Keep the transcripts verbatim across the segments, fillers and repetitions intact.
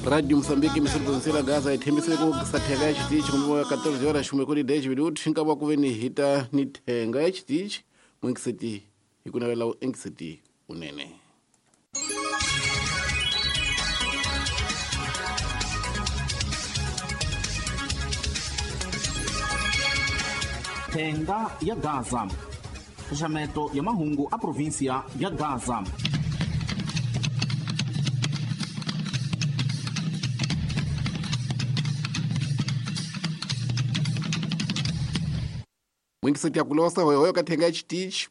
Radio Moçambique emissora provincial Gaza yi thembisile ku sathenga ya xitichi kumbe quatorze horas xumwe kuri dez minutos nkava ku ve ni hita ni thenga ya xitichi n'wenkiseti hi ku navela u enkiseti unene. Thenga ya Gaza, xaxameto ya mahungu a província ya Gaza. N'wenkiseti ya kulosa hoyohoyo ka thenga ya xitichi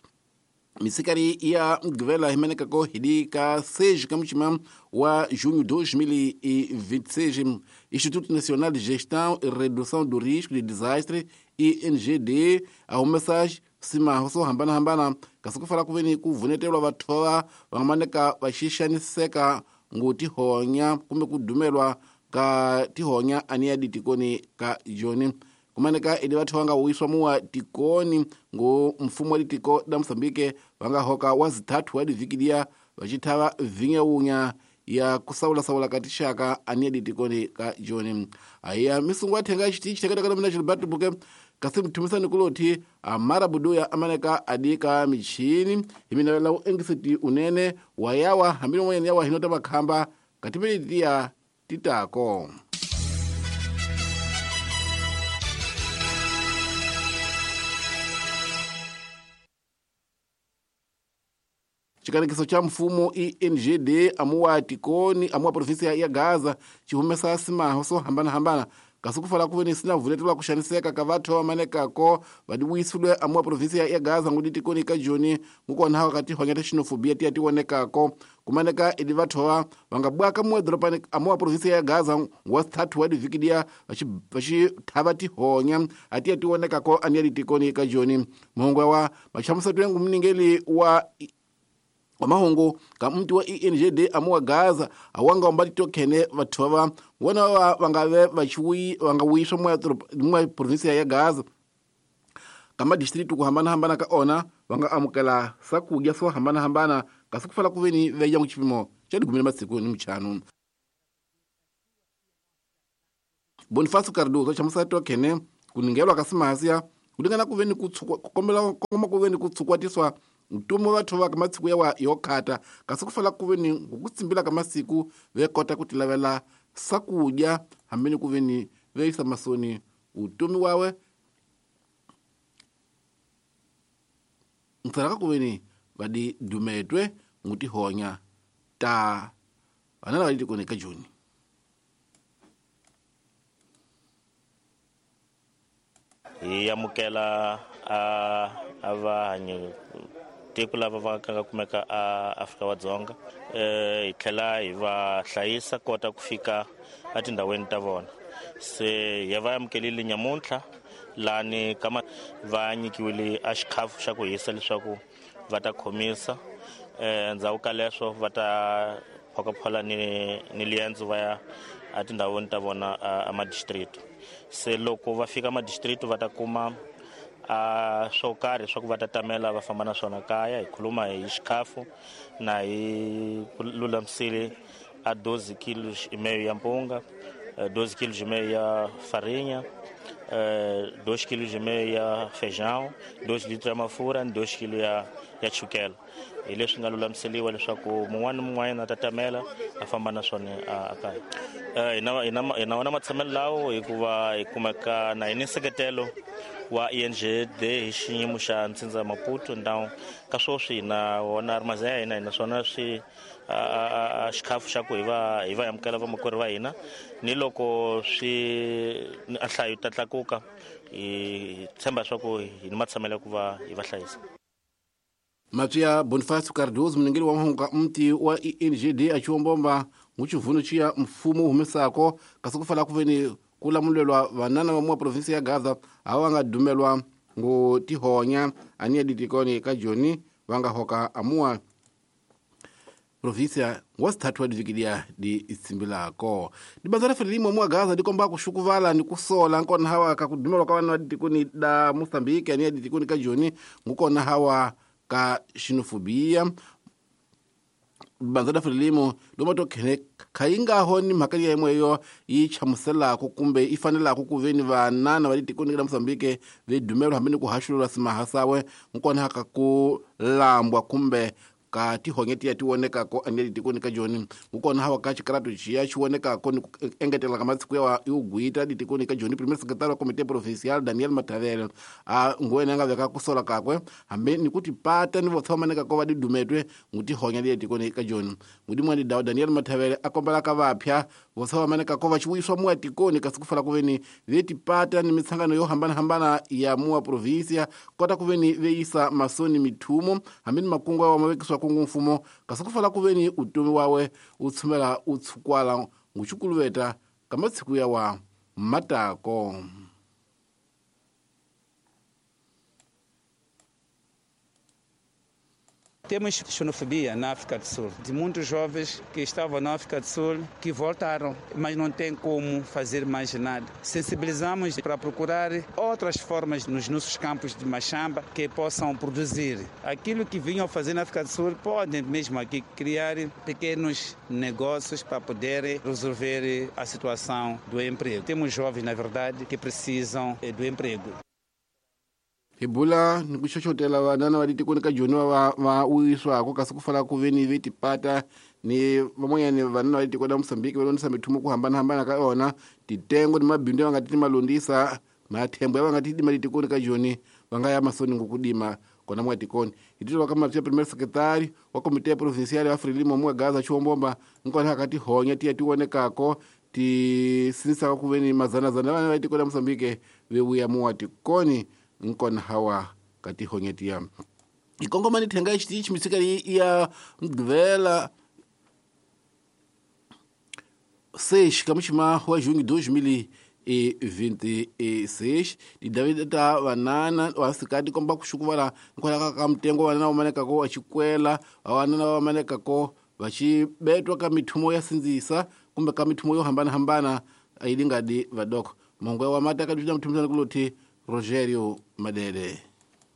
misikari ya mugqivela hi menekako hidi ka seis ka muchima wa junho dois mil e vinte e seis, Instituto Nacional de Gestão e Redução do Risco de Desastre I N G D a humesa simaho swo hambanahambana kasi ku fala ku veni ku vunetelwa vathova va nga maneka va xixaniseka ngo tihonya kumbe ku dumelwa ka tihonya ani ya ditikoni ka joni kumaneka idi vathu va nga wuyiswa muwa tikoni ngo mfumo wa ditiko da Moçambique va nga hoka wa zithathu wa divikidia va xithava vinyawunya ya kusawulasawula ka tixaka ani ya ditikoni ka joni ayiya misungu ya thenga xitichi thekateka mina Gilberto Buke kasi mthumisani kulothi amara buduya amaneka adika michini hi minavela u engiseti unene wa yawa hambi n'wanyana yawa hinota makhamba katimilitiya titako. Xikanekiso xa mfumo I N G D amuwa tikoni amuwa província ya Gaza xi humesa simaho swo hambanahambana kasi ku fala ku veni sina vuletelwa ku xaniseka ka vathu va manekako va divuyisile amuwa província ya Gaza ngudi tikoni ka joni ngukona ka tihonya ta xenofobia tiya ti vonekako kumaneka idi vathu va va nga bwaka muwa doropani amuwa província ya Gaza wa sithathu wa divikidia va xi thava tihonya a tiya ti vonekako ani ya ditikoni ka joni muhungu wa machamusato yangu mningeli wa mahungu ka mti wa I N G D amuwa Gaza awanga omba titokhene vathu va vona va va nga ve va chiwi va nga wuyiswa moya moya província ya Gaza ka madistritu ku hambanahambana ka ona va nga amukela swakudya swo hambanahambana kasi ku fala ku veni ve ya xipimo xa dikumi na masiku ni michanu. Bonifacio Cardoso chamusa tokhene ku ningelwa ka simahasiya ku lingana ku veni ku kombela kongoma ku veni ku tsukwatiswa ntumo vathu va ka masiku yawa yo khata kasi ku fala ku veni ku tsimbila ka masiku ve kota ku tilavela swakudya hambi ni ku veni ve yisa masoni utomi wawe ntsaraka ku veni va di dumetwe ngutihonya ta vana lava ditikoni ka joni. Hi amukela a a vahanyi tiko lava va nga kumeka a Afrika wa Dzonga eh hi tlhela hi va hlayisa kota ku fika etindhawini ta vona se ya va amukelile nyamuntlha lani kama va nyikiwile a xikhafu xa ku hisa leswaku va ta khomisa eh ndzhaku ka leswo va ta phokaphola ni ni liendzo va ya etindhawini ta vona a madistrict se loko va fika madistrict va ta kuma a swo karhi swa ku va ta tamela va famba na swona kaya hi khuluma hi xikhafu na hi lulamisile a doze kilos e meio ya mpunga, doze quilos e meio ya farinha, dois quilos e meio ya feijão, dois litros ya mafurha ni dois quilos ya ya chukela. Hi leswi nga lulamiseliwa leswaku mun'wana ni mun'wanyana a ta tamela a famba na swona a kaya. Hi na hi na hi na wona matshamelo lawo hikuva hi kumeka na hi ni nseketelo wa I N G D hi xiyimo xa Ntsindza Maputo ndhawu ka sweswi hi na wona ri ya hina hi na swona swi a xikhafu xa ku hi va hi va amukela vamakwerhu va hina ni loko swi a nhlayo ta tlakuka hi tshemba leswaku hi ni matshamelo ya ku va hi va hlayisa. Matswiya Bonifacio Cardoso munengeli wa mahungu ka mti wa I N G D a xiwombomba nguchivhuno xiya mfumo wu humesako kasi ku fala ku veni ku lamulelwa vanana va muwa provinsi ya Gaza a va nga dumelwa ngo tihonya ani ya ditikoni ka joni va nga hoka amuwa província wa sithathu wa divikidia di itsimbilako dibanza ra Frelimo muwa Gaza di komba ku xukuvala ni ku sola nkona hawa ka ku dumelwa ka vana va ditikoni da Moçambique ani ya ditikoni ka joni ngukona hawa ka xenofobia bandza la Frelimo loma to khene khayingaho ni mhaka ya yimwe yi chamuselako kumbe i fanelako ku veni vanana va tikoni la Mozambique ve dumelo hambi ni ku haxulula simahasawe nkona ka ku lambwa kumbe ka tihonge tiya ti vonekako ane tikoni ka joni nkona hawa ka xikaratu xiya xi vonekako ni ku engetela ka masiku ya yo gwita ditikoni ka joni premier secretary wa comité provincial Daniel Matavele a ngwena nga veka ku sola kakwe hambi ni ku tipata ni vo tshamaneka ko va didumetwe ngutihonya le tikoni ka joni ngudimwa ni dawo Daniel Matavele a kombela ka vapya vo tshamaneka ko va xiwiswa muwa tikoni kasi ku fala ku veni ve tipata ni mitsangano yo hambana hambana ya muwa provincia kota ku veni ve yisa masoni mithumo hambi ni makungu wa mavekiswa kungu mfumo kasi ku fala ku veni utomi wawe u tshumela u tshukwala nguchukuluveta ka matsiku ya wa matako. Temos xenofobia na África do Sul, de muitos jovens que estavam na África do Sul que voltaram, mas não tem como fazer mais nada. Sensibilizamos para procurar outras formas nos nossos campos de machamba que possam produzir. Aquilo que vinham fazer na África do Sul, podem mesmo aqui criar pequenos negócios para poder resolver a situação do emprego. Temos jovens, na verdade, que precisam do emprego. Hibula ni ku xoxotela vanana va ditikoni ka joni va va uyiswako kasi ku fala ku veni ve tipata ni van'wanyani vanana va ditikoni la Mozambique va londzisa mithumo ku hambanahambana ka yona titengo ni mabindzu ya va nga ti malondzisa mathembo ya va nga ti dima ditikoni ka joni va nga ya masoni ngokudima kona mwa tikoni hititwa ka mapya premier secretary wa comité provincial ya Frelimo mwa Gaza Chiwombomba nkona ka tihonya tiya ti vonekako ti sinisaka ku veni mazanazana vana va ditikoni la Mozambique ve vuya muwa tikoni nkona hawa katihonyetia ikongomani thenga xitichi misika ya mgvela seis kamuxima wa junho dois mil e vinte e seis di David ta vanana wa sikati komba ku xukuvala nkwala ka mtengo vanana va maneka ko achikwela vanana va maneka ko va xi betwa ka mithumo ya sindzisa kumbe ka mithumo yo hambana hambana ayilingadi vadoko mongwe wa mata ka dina mthumuzana kuloti Rogério Madede.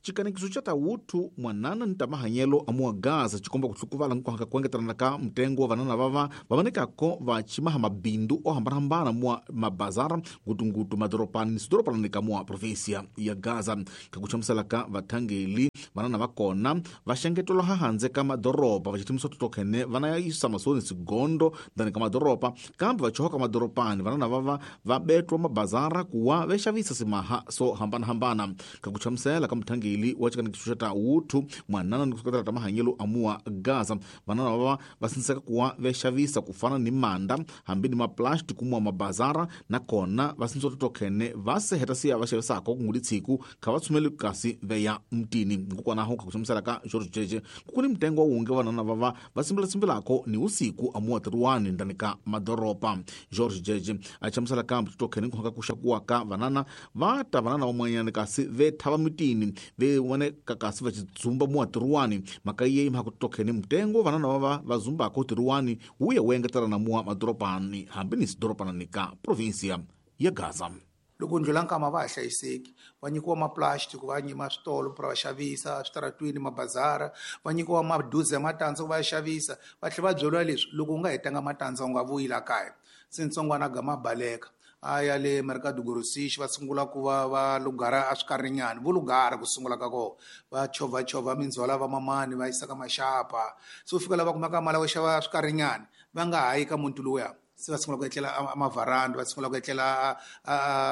Chikanekiso cha tawutu mwanana ni tamahanyelo amua Gaza chikomba kutsukuvala nkuhaka kuengetelana ka mtengo wa vanana vava vavanekako vachimaha mabindu ohambanahambana mua mabazara ngutungutu madoropani ni sidoropani ka mua provinsia ya Gaza kakuchamusela ka vathangeli vanana vakona vaxengetelo hahandze ka madoropa vachithimiso totokhene vana ya isa masoni sigondo ndani ka madoropa kambe vachohoka madoropani vanana vava vabetwa mabazara kuwa vexavisa simaha so hambanahambana kakuchamusela ka mthangeli wa chikanekiso cha tawutu mwanana ni kusukatela tamahanyelo amua Gaza vanana vava vasiniseka kuwa vexavisa kufana ni manda hambi ni maplastic kumua mabazara nakona vasinisa totokhene vaseheta siya vaxavisako kunguli tsiku kha va tshumeli kasi veya mtini nkokwanaho kakuchamusela ka George Jeje kukuni mtengo wa wunge vanana vava va simbilasimbilako ni usiku amua tiruwani ndani ka madoropa George Jeje achamusela ka totokhene nkuhaka kuxakuwa ka vanana vata vanana vamwanyani kasi vethava mitini ve wane kakasi va chidzumba mua tiruwani mhaka yeyi mhaka totokhene mtengo vanana vava va zumbako tiruwani wuya wu engetelana mua madoropani hambi ni sidoropanani ka provinsia ya Gaza. Loko ndlula nkama va ha hlayiseki va nyikiwa maplastic va nyima switolo pra va xavisa switaratwini mabazara va nyikiwa maduze ya matandza ku va xavisa va tlhela va byeriwa leswi loko u nga hetanga matandza u nga vuyi la kaya se ntsongwana gama baleka a ya le Mercado Grossiste va sungula ku va va lugara a swikarinyani vo lugara ku sungula ka kona va chovhachovha mindzhwala va mamani va yisa ka maxapa se u fika la va kumaka mali yo xava swikarinyani va nga ha yi ka muti lowuya se va sungula ku etlela a mavaranda va sungula ku etlela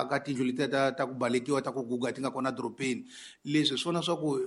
ka tindlu letiya ta ta ku balekiwa ta ku guga ti nga kona dorobeni leswi hi swona swa ku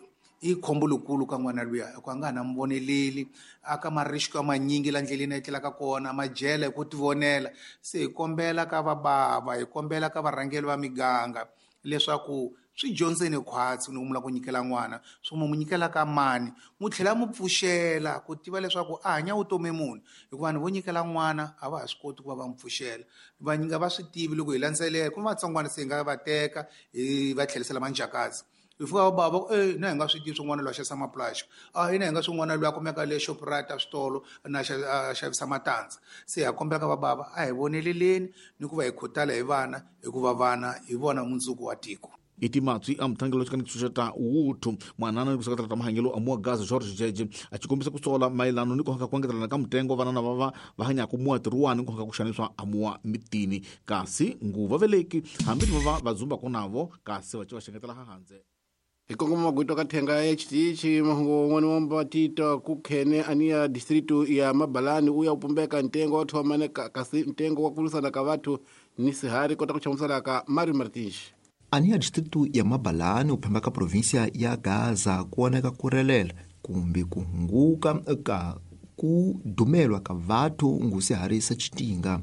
i khombo lokulu ka n'wana luya hikuva a nga ha na muvoneleli a ka marisiko ya manyingi la ndleleni a etlelaka kona majele hi ku tivonela se hi kombela ka vabava hi kombela ka varhangeri va miganga leswaku swi dyondzeni khwatsi ni ku ku nyikela n'wana swo mu nyikela ka mani mu tlhela mu pfuxela ku tiva leswaku a hanya vutomi munhu hikuva vanhu vo nyikela n'wana a va ha swi koti ku va va mu pfuxela va nyinga va swi tivi loko hi landzelela ku vatsongwana se hi nga va teka hi va tlherisela manjhakazi hi fika va bava e na hi nga swi tivi swin'wana loyi a xavisa maplastic a hina hi nga swin'wana loyi a kumeka le Shoprite a switolo na a xavisa matandza se ha kombela ka va bava a hi voneleleni ni ku va hi khutala hi vana hikuva vana hi vona mundzuku wa tiko. Iti matswi a mutangelo xikani xuxeta wuthu mwanana ni kuseketela ta mahanyelo a mua Gaza George Jeje a xi kombisa ku sola mayelano ni ku haka ku engetelana ka mutengo vanana va va va hanyaka mua tiruwani ku haka ku xaniswa a mua mitini kasi nguva veleki hambi va va va zumbaka navo kasi va ci va xengetela hanze. Hi kongoma magwito ka thenga ya xitichi mahungu wun'wana wa mbatita ku khene aniya distritu ya Mabalani u ya u pumbeka ntengo wa thomane kasi ntengo wa ku lwisana ka vathu ni sihari kota ku chamusela ka Mario Martins. Aniya distritu ya Mabalani u phemba ka provinsia ya Gaza ku voneka ku relela kumbe ku hunguka ka ku dumelwa ka vathu ngusiharisa xitinga.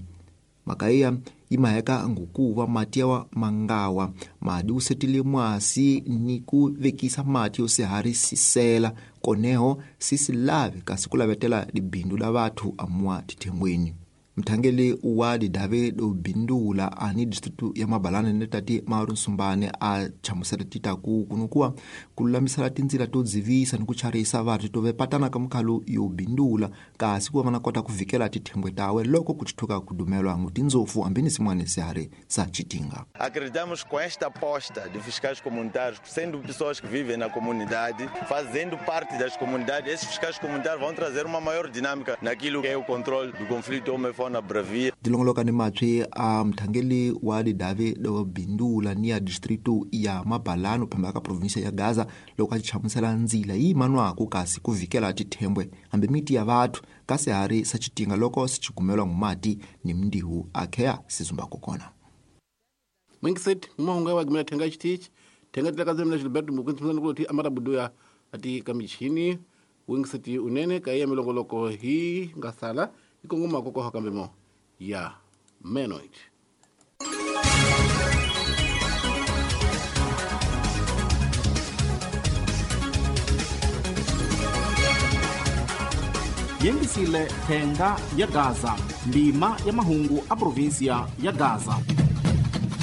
Mhaka iya yi maheka ngukuva mati yawa mangawa madi wu setile mwasi ni ku vekisa mati yo siharisisela koneho sisi lave kasi ku lavetela libindu la vathu amua tithengweni. Mthangeli wa didave do bindula ani distritu ya Mabalani ni tati Mauro Nsumbane a chamusela tita ku kunukuwa ku lulamisela tindzila to dzivisa ni ku charisa vathu to vepatana ka mukhalu yo bindula kasi ku va na kota ku vikela tithengwe tawe loko ku tithuka ku dumelwa ngu tindzofu hambi ni sin'wana sihari sa xitinga. Acreditamos com esta aposta de fiscais comunitários, sendo pessoas que vivem na comunidade, fazendo parte das comunidades, esses fiscais comunitários vão trazer uma maior dinâmica naquilo que é o controle do conflito homem fauna bravia. Dilongoloka ni matswi a mthangeli wa didave do bindula ni ya distritu ya Mabalani phamba ka provinsia ya Gaza loko a chamusela ndzila yi manwaku kasi ku vikela tithembwe hambi miti ya vathu kasi hari sa xitinga loko sichigumelwa ngumati ni mndihu akheya sizumbako kona. Mwingiset mahunga wa gimela thenga xitichi thenga tilaka zemna Gilberto Mukwintsi ku ti amara buduya ati kamichini wingiseti unene ka ya milongoloko hi nga sala ikongoma koko kambe mo ya menoit. Yengisile thenga ya Gaza ndima ya mahungu a provinsia ya Gaza.